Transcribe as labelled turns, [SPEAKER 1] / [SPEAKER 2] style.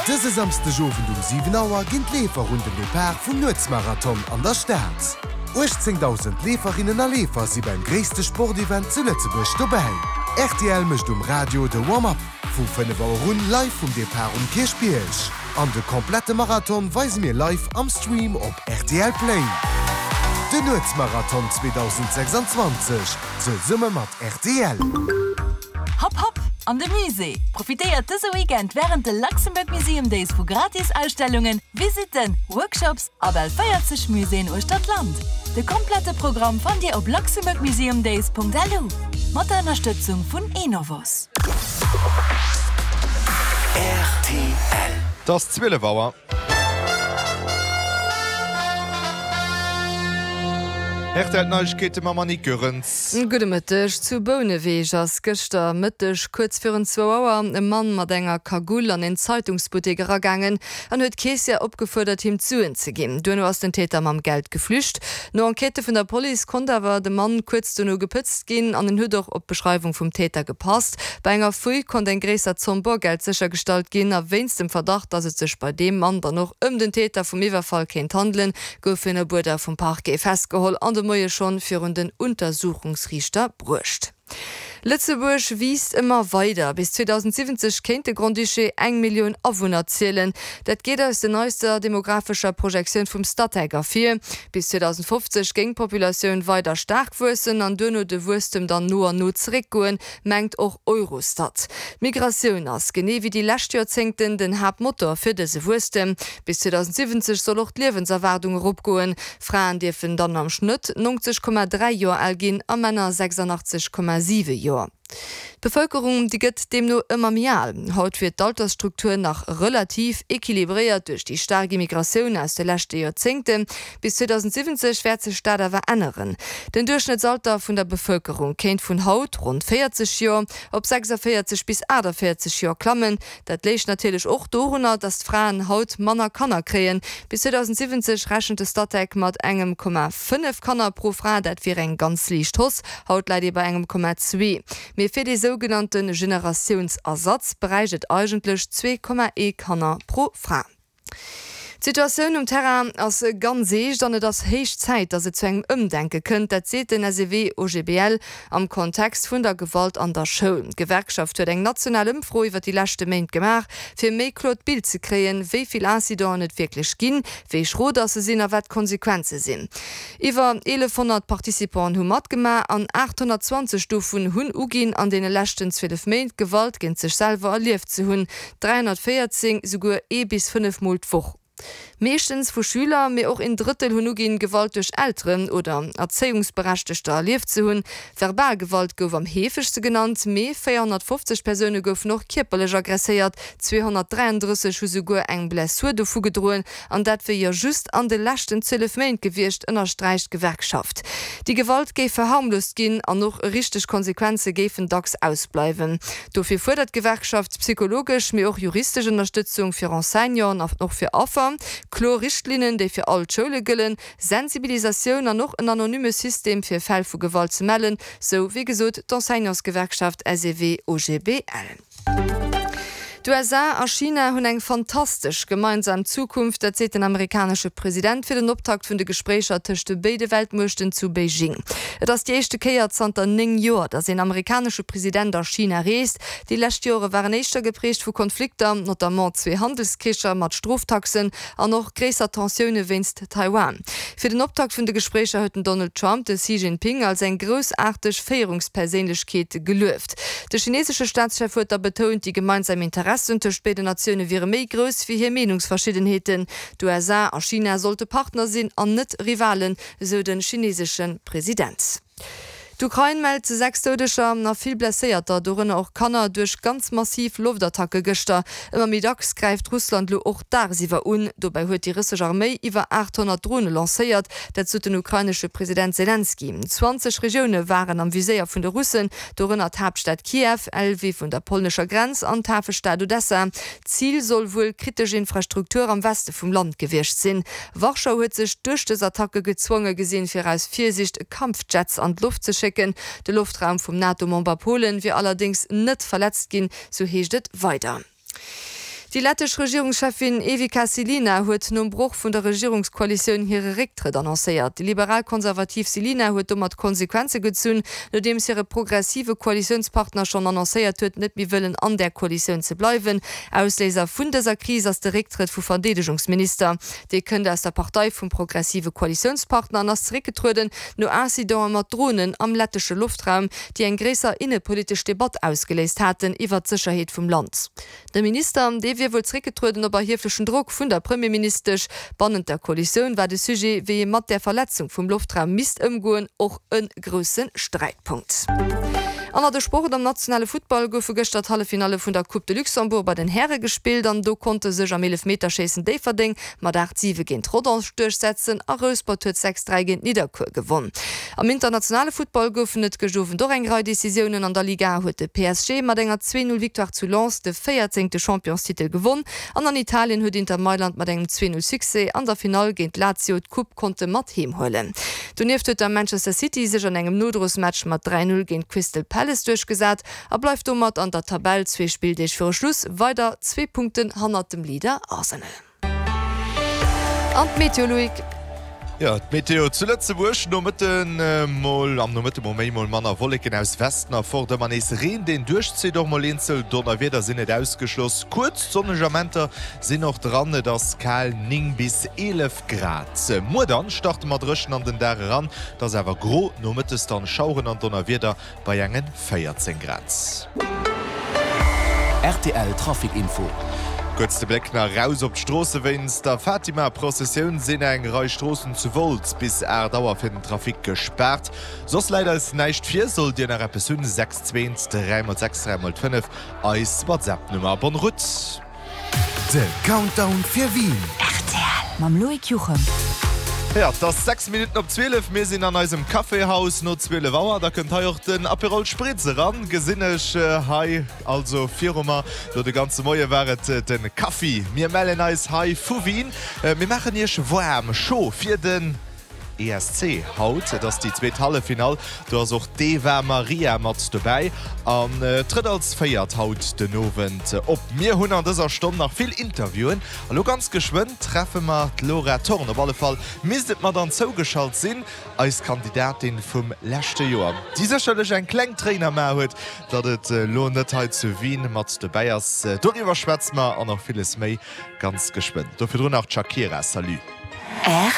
[SPEAKER 1] Dëse Samsdeg Owend um 7 Auer ginn d'Leefer un den Depart vum Nuetsmarathon an der Stad. 18.000 Leeferinnen a Leefer si beim gréisste Sportevent zu Lëtzebuerg dobäi. Rtl mécht um Radio de Warm-up vu 5 Auer un live vum Depart um Kierchbierg. An de komplette Marathon weise mir live am Stream op rtl Play. Den Nuetsmarathon 2026 zesumme mat rtl.
[SPEAKER 2] Hopp hopp an de Musée! Profitéiert dëse Weekend wärend de Luxembourg Museum Days vu gratis Ausstellungen, Visitten, Workshops a bal 40 Muséeën uechter d'Land. De komplette Programm fannt Dir op luxembourgmuseumdays.lu. Mat der Ënnerstëtzung vun Enovos.
[SPEAKER 3] Rtl.
[SPEAKER 4] Et ass 12 Auer. Rtl Neiegkeete mam Annick Goerens.
[SPEAKER 5] Gudde Mëtteg. Zu Bouneweg ass gëschter Mëtteg kuerz virun zwou Auer e Mann mat enger Kagull an een Zeitungsbuttek eragaangen an huet d'Keessière opgefuerdert, him d'Suen ze ginn. Duerno ass den Täter mam Geld geflücht. No Enquêtë vun der Police konnt awer de Mann kuerz dono gepëtzt ginn an en huet och op d'Beschreiwung vum Täter gepasst. Bei enger Fouille konnt eng gréisser Zomm Borgeld séchergestallt ginn a wéinst dem Verdacht, dass et sech bei deem Mann dann och ëm den Täter vum Iwwerfall kéint handelen, gouf hien op Uerder vum Parquet festgeholl an de Moie schonn virun den Untersuchungsriichter bruecht. Lëtzebuerg wiisst ëmmer weider. Bis 2070 kéint de Grand-Duché eng Millioun Awunner zielen. Dat geet aus der neister demographescher Projektioun vum Statec ervir. Bis 2050 géing d'Populatioun weider staark wuessen an duerno de Wuesstem dann no an no zeréckgoen, mengt och Eurostat. D'Migratioun ass, genee wéi déi lescht Joerzéngten, den Haaptmotor fir dëse Wuesstem. Bis 2070 soll och d'Liewenserwaardung eropgoen. Fraen dierfen dann am Schnëtt 90,3 Joer al ginn a Männer 86,7 Joer. D'Bevëlkerung, déi gëtt deemno ëmmer méi al. Haut wier d'Altersstruktur nach relativ equilibréiert duerch déi staark Immigratioun aus de leschte Joerzéngten. Bis 2070 wäert sech dat awer änneren. Den Duerchschnëttsalter vun der Bevëlkerung kéint vun haut, ronn 40 Joer, op 46 bis 48 Joer klammen. Dat léich natierlech och dorunner, datt d'Fraen haut manner Kanner kréien. Bis 2070 rechent de Statec mat engem Komma 5 Kanner pro Fra. Dat wier eng ganz liicht Hausse. Haut läit ee bei engem Komma zwee. Mee fir dee sougenannte Generatiounsersatz bräicht et eigentlech 2,1 Kanner pro Fra. D'Situatioun um Terrain ass ganz eescht an et ass héich Zäit, datt et zu engem Ëmdenke kënnt. Dat seet den SEW-OGBL am Kontext vun der Gewalt an der Schoul. D'Gewerkschaft huet eng national Ëmfro iwwer déi leschte Méint gemaach, fir e méi kloert Bild ze kréien, wéi vill Incidenten et wierklech ginn, wéi schro datt se sinn a wat d'Konsequenze sinn. Iwwer 1.100 Participanten hu matgemaach an 820 dovun hunn uginn, an deene leschten 12 Méint Gewalt géint sech selwer erlieft ze hunn, 314 souguer ee bis 5 Mol d'Woch. Meeschtens vu Schüler, mee och een Drëttel hunn uginn, Gewalt duerch Elteren oder Erzéiungsberechtegter erlieft ze hunn. Verbal Gewalt gouf am heefegste genannt, mee 450 Persoune goufen och kierperlech aggresséiert, 233 hu souguer eng Blessur dovu gedroen. An dat wier jo just an de leschten 12 Méint gewiescht, ënnersträicht d'Gewerkschaft. Déi Gewalt géif verharmlost ginn an och richteg Konsequenze géifen dacks ausbleiwen. Dofir fuerdert d'Gewerkschaft psychologesch, mee och juristesch Ënnerstëtzung fir Enseignanten an och fir Affer, kloer Richtlinnen, déi fir all d'Schoule gëllen, Sensibilisatioun an och en anonyme System fir Fäll vu Gewalt ze mellen, sou wéi gesot d'Enseignantsgewerkschaft SEW-OGBL. D'USA a China hunn eng fantastesch gemeinsam Zukunft, dat seet den amerikanesche President fir den Optakt vun de Gespréicher tëscht de béide Weltmuechten zu Beijing. Et ass déi éischte Kéier zanter 9 Joer, datt een amerikanesche President a China reest. Déi lescht Jore waren éischter geprägt vu Konflikter, notamment zwee Handelskricher mat Stroftaxen an och gréisser Tensioune wéinst Taiwan. Fir den Optakt vun de Gespréicher huet den Donald Trump de Xi Jinping als eng groussaarteg Féierungsperséinlechkeet gelueft. De chinesesche Staatschef huet da betount, déi gemeinsam Interessen tëscht béiden Natioune wiere méi grouss wéi hir Meenungsverschiddenheeten. D'USA a China sollte Partner sinn an net Rivalen, esou de chinesesche President. D'Ukrain mellt 6 Doudeger a vill Blesséierter, dorënner och Kanner, duerch ganz massiv Loftattacke gëschter. Ëmmer méi dacks gräift Russland elo och dagsiwwer un. Dobäi huet déi russesch Arméi iwwer 800 Drone lancéiert, dat sot den ukrainesche President Selenskyj. 20 Regioune waren am Viséier vun de Russen, dorënner d'Haaptstad Kiew, Lwiw un der polnescher Grenz an d'Hafestad Odessa. Zil soll wuel kritesch Infrastruktur am Weste vum Land gewiescht sinn. Warschau huet sech duerch dës Attacke gezwonge gesinn, fir aus Virsiicht Kampfjets an d'Loft ze schécken. De Loftraum vum NATO-Member Polen wier allerdéngs net verletzt ginn, sou heescht et weider. Déi lettesch Regierungscheffin Evika Silina huet nom Broch vun der Regierungskoalitioun hire Récktrëtt annoncéiert. Déi liberal-konservativ Silina huet domat Konsequenze gezunn, nodeems hire progressive Koalitiounspartner schonn annoncéiert huet, net méi wëllen an där Koalitioun ze bleiwen. Ausléiser vun dëser Kris ass de Récktrëtt vu Verdeedegungsminister. Dee kënnt aus der Partei vum progressive Koalitiounspartner an ass zeréckgetrueden no Incidente mat Dronen am lettesche Loftraum, déi eng gréisser innepolitesch Debatt ausgeléist haten iwwert d'Sécherheet vum Land. De Minister, dee wier wuel zeréckgetrueden op erhieflechen Drock vun der Premierministesch. Bannent der Koalitioun war de Sujet, wéi ee mat där Verletzung vum Loftraum misst ëmgoen, och e grousse Sträitpunkt. An a de Sport, Am nationale Futtball goufe gëschter d'Halleffinalle vun der Coupe de Luxembourg bei den Häre gespillt an do konnte sech am Eelefmeterschéissen Déifferdeng mat 8, 7 géint Rodange duerchsetzen a Rouspert huet 6, 3 géint Nidderkuer gewonn. Am internationale Futtball goufen et gëscht Owend och eng Rei Decisiounen. An der Liga A huet de PSG mat enger 2, 0 Victoire zu Lens de véierzéngte Championstitel gewonn an an Italien huet Inter Mailand mat engem 2, 0 Succès an der Finall géint Lazio d'Coupe konnte mat heem huelen. Donieft huet da Manchester City sech an engem Nodrosmatch mat 3, 0 géint Crystal Palace duerchgesat a bleift domat an der Tabell zwee Spilldeeg viru Schluss weider zwee Punkten hannert dem Leader Arsenal. An d'Meteo, Loïc?
[SPEAKER 4] Jo, d'Meteo zu Lëtzebuerg, Nomëtten mol am Nomëtte mol méi, mol manner Wolleken aus Westen a fort, ëmmer nees Reen deen duerchzitt, och mol eenzel Donnerwieder sinn net ausgeschloss. Kuerz sonneg Amenter sinn och dran, et ass kal, 9 bis 11 Grad. Muer dann starte mer dréchen an den Dag eran, et ass awer gro, nomëttes dann Schaueren an Donnerwieder bei engen 14 Grad.
[SPEAKER 3] Rtl Trafic Info.
[SPEAKER 4] Kuerz de Bléck nach eraus op d'Stroosse, Wéinst der Fatima-Prozessioun sinn eng Rei Stroossen zu Wolz bis 8 Auer fir den Trafic gespaart. Soss läit eis näischt vir. Sollt Dir nach eppes hunn, 6 2 3 x 6 3 x 5, eis WhatsApp-Nummer. Bonne route!
[SPEAKER 1] De Countdown fir Wien.
[SPEAKER 2] Rtl mam Loïc Juchem.
[SPEAKER 4] Jo, et ass 6 Minutten op 12. Mir sinn an eisem Caféhaus no 12 Auer. Da kënnt hei och den Aperol Spritz eran, gesinn ech hei also viru mer. Lo de ganze Moie war et de Kaffi. Mir mellen eis hei vu Wien. Mir maachen iech waarm, chaud fir den. ESC haut. Et ass déi zweet Halleffinall. Do ass och d'Eva Marija mat dobäi an trëtt als Véiert haut den Owend op. Mir hunn an dëser Stonn nach vill Interviewen a lo ganz geschwënn treffe mer d'Laura Thorn. Op alle Fall misst et mer dann zougeschalt sinn, eis Kandidatin vum leschte Joer, déi sécherlech eng kleng Tréin am A huet, datt et lo net hei zu Wien mat dobäi ass. Doriwwer schwätze mer an och villes méi ganz geschwënn. Do virdrun nach d'Shakira. Salut.
[SPEAKER 2] R.